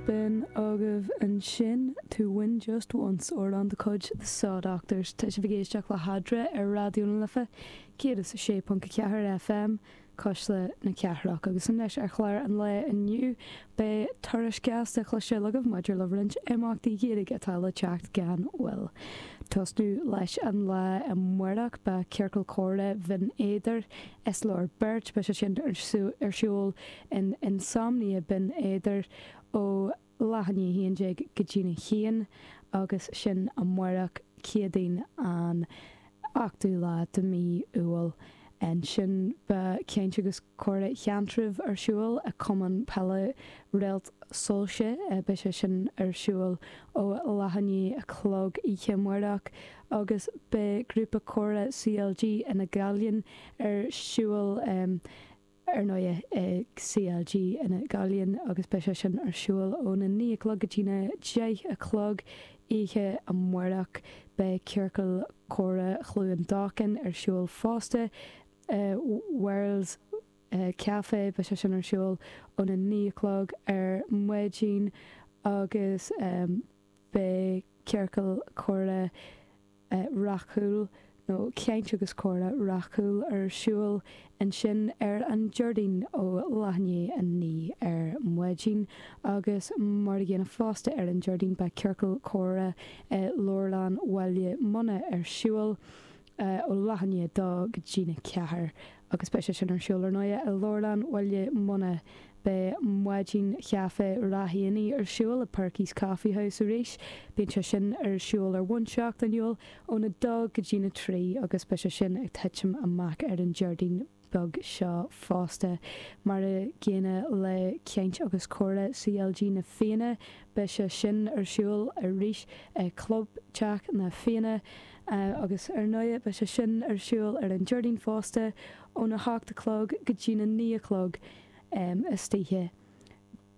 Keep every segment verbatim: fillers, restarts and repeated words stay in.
B'in agaibh ansin To Win Just Once amhrán de chuid The Saw Doctors tá sibh ag éisteacht le hEadra ar Raidió na Life céad is a sé ponc a ceathair FM Cuisle na Cathrach agus anois ar chlár an lae inniu beidh tuairisc ghearr cloisteáil agaibh maidir le roinnt imeachtaí Gaeilge atá le teacht gan mhoill. Tosnú leis an lá amárach beidh Ciorcal Comhrá Bhinn Éadair Is Leor Beirt beidh sé sin ar siúl in Insomnia Binn Éadair ó leath i ndiaidh a haon déag go dtí a haon agus sin amárach Céadaoin an ochtú lá de mí Iúil. Ansin beidh caint agus comhrá Sheantraibh ar siúl i Cumann Peile Réalt Soilse beidh sé sin ar siúl ó leath i ndiaidh a chlog oíche amárach agus beidh grúpa comhrá CLG ina Gaillimh ar siúl ar ndóigh i CLG ina Gaillimh agus beidh sé sin ar siúl óna naoi a chlog go dtí a deich a chlog oíche amárach beidh ciorcal comhrá Chluain Dolcáin ar siúl fosta Worlds Café beidh sé sin ar siúl óna naoi a chlog ar maidin agus beidh ciorcal comhrá rathúil nó caint agus comhrá rathúil ar siúl ansin ar an Déardaoin ó leath i ndiaidh a naoi ar maidin agus mar a gcéanna fosta ar an Déardaoin beidh ciorcal comhrá Leabharlann Bhaile Munna ar siúl ó leath i ndiaidh a dó go dtí a ceathair agus beidh sé sin ar siúl ar ndóigh i Leabharlann Bhaile Munna beidh maidin chaife Ráth Éanaigh ar siúl i Perky's Coffee House arís bíonn sé sin ar siúl ar bhonn seachtainiúil óna dó go dtí a trí agus beidh sé sin ag titim amach ar an Déardaoin beag seo fosta mar a gcéanna le caint agus comhrá CLG na Fianna beidh sé sin ar siúl arís i Club Teach na Fianna agus ar ndóigh beidh sé sin ar siúl ar an Déardaoin fosta óna hocht a chlog go dtí a naoi a chlog um, istoíche.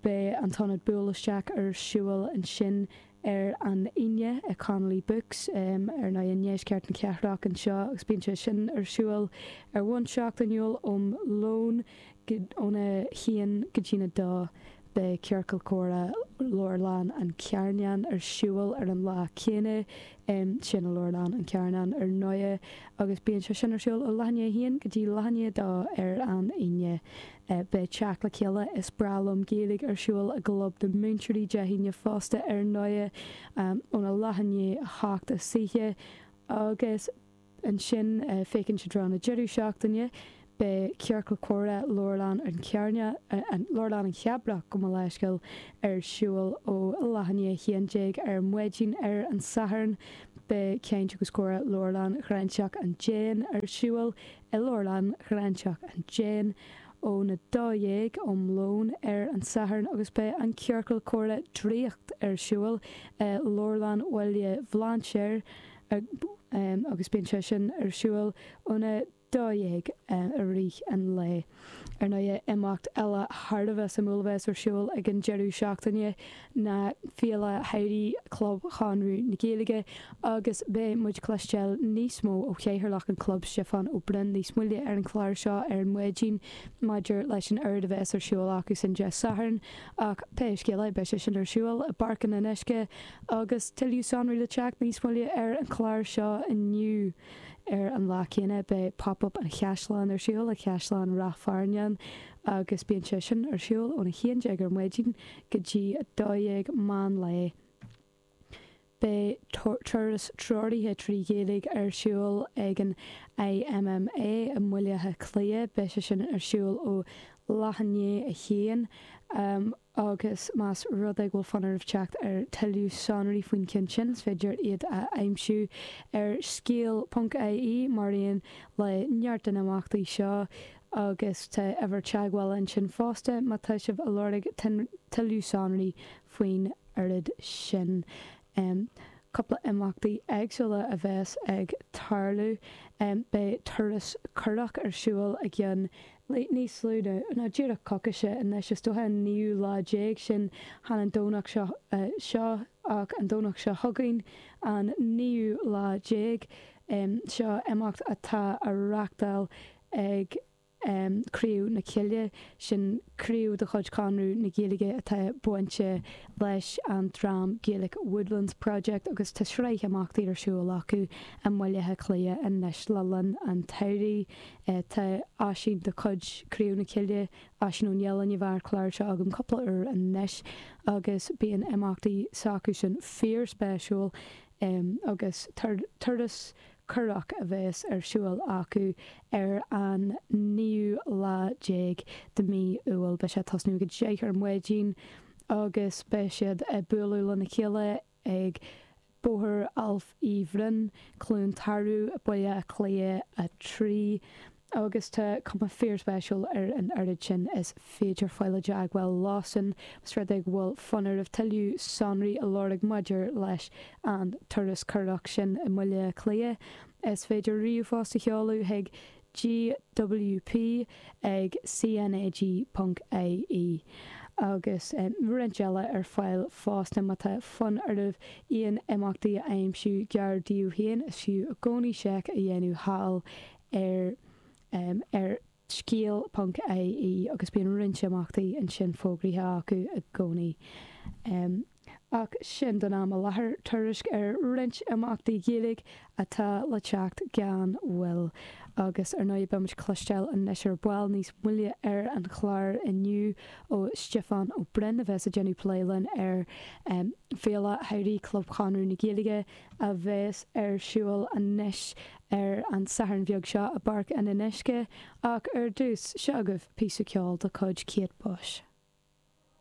Beidh an t-ionad buail isteach ar siúl ansin ar an Aoine i Connolly Books um, ar ndóigh i ndeisceart na cathrach anseo agus bíonn sé sin ar siúl ar bhonn seachtainiúil um lón óna haon go dtí a dó beidh ciorcal comhrá Leabharlann an Charnáin ar siúl ar an lá céanna um, sin i Leabharlann an Charnáin ar ndóigh agus bíonn sé sin ar siúl ó leath i ndiaidh a haon go dtí leath i ndiaidh a dó ar an Aoine. Uh, beidh teacht le chéile is breá liom Gaeilge ar siúl i gClub na Múinteoirí Dé hAoine fosta ar ndóigh um, óna leath i ndiaidh a hocht istoíche agus ansin uh, féachaint i dtreo na deireadh seachtaine beidh ciorcal comhrá Leabharlann an Chearna an Leabharlann an Cheabrach gabh mo leithscéal ar siúl ó leath i ndiaidh a haon déag ar maidin ar an Satharn beidh caint agus comhrá Leabharlann Ghráinseach an Déin ar siúl i Leabharlann Ghráinseach an Déin óna dó dhéag um lón ar an Satharn agus beidh an ciorcal comhrá draíocht ar siúl i Leabharlann Bhaile Bhlainséir agus bíonn sé sin ar siúl óna dó dhéag i rith an lae. Ar ndóigh imeacht eile thar a bheith suimiúil a bheas ar siúl ag an deireadh seachtaine ná Féile Shamhraidh Chlub Chonradh na Gaeilge agus beidh muid cloisteáil níos mó ó chathaoirleach an chlub Stiofán Ó Broin níos moille ar an chlár seo ar an maidin maidir leis an rud a bheas ar siúl acu sin Dé Sathairn ach pé scéal é beidh sé sin ar siúl i bPáirc an Fhionnuisce agus tuilleadh sonraí le teacht níos moille ar an chlár seo inniu. Ar an lá céanna beidh pop-up an Chaisleáin ar siúl i Caisleán Ráth Fearnáin agus bíonn sé sin ar siúl óna haon déag ar maidin go dtí a dó dhéag meán lae. Beidh turas treoraithe trí Ghaeilge ar siúl ag an IMMA i mBaile Átha Cliath, beidh sé sin ar siúl ó leath i ndiaidh a haon agus más rud é go bhfuil fonn oraibh teacht ar tuilleadh sonraí faoin cheann sin, is féidir iad a aimsiú ar scéal.ie mar aon le neart de na himeachtaí seo agus tá uimhir teagmhála ansin fosta má tá sibh ag lorg tuilleadh sonraí faoin rud sin. Cúpla imeachtaí éagsúla a bheas ag tarlú. Beidh turas curach ar siúl i gceann níos lú ná díreach coicíse anois, is dócha an naoú lá déag sin chan an Domhnach seo seo ach an Domhnach seo chugainn, an naoú lá déag. Seo imeacht atá á reáchtáil ag. Craobh na Cille, sin craobh de chuid Chonradh na Gaeilge atá bainte leis an dream Gaelic Woodlands Project agus tá sraith imeachtaí ar siúl acu i mBaile Átha Cliath anois le linn an tsamhraidh. Tá Oisín de chuid Craobh na Cille, Oisín Ó Nialláin, a bhí ar an chlár seo agam cúpla uair anois agus bíonn imeachtaí s'acusan fíorspéisiúil agus turas curach a bheas ar siúl acu ar an naoú lá déag de mhí Iúil. Beidh sé ag tosnú ag a deich ar maidin agus beidh siad ag bualadh lena chéile ag Bóthar Ailf Uí Bhroin, Cluain Tarbh, Baile Átha Cliath a trí. Agus tá cuma fíorspéisiúil ar an oiread sin is féidir fáil i dteagmháil leosan más rud é go bhfuil fonn oraibh tuilleadh sonraí a lorg maidir leis an turas curach sin i mBaile Átha Cliath. Is féidir ríomhphost a sheoladh chuig gwp ag cnag ponc ie agus roinnt eile ar fáil fosta má tá fonn oraibh aon imeachtaí a aimsiú gar daoibh féin is fiú i gcónaí seic a dhéanamh thall ar ar scéal ponc ie agus bíonn roinnt imeachtaí ansin fógraithe acu i gcónaí. Ach sin don am i láthair, tuairisc ar roinnt imeachtaí Gaeilge atá le teacht gan mhoill. Agus ar ndóigh beimid ag cloisteáil anois ar ball níos moille ar an chlár inniu ó Stiofán Ó Broin a bheas ag déanamh plé linn ar Féile Shamhraidh Chlub Chonradh na Gaeilge a bheas ar siúl anois ar an Satharn bheag seo i bPáirc an Fhionnuisce. Ach ar dtús, seo agaibh píosa ceoil de chuid Kate Bush.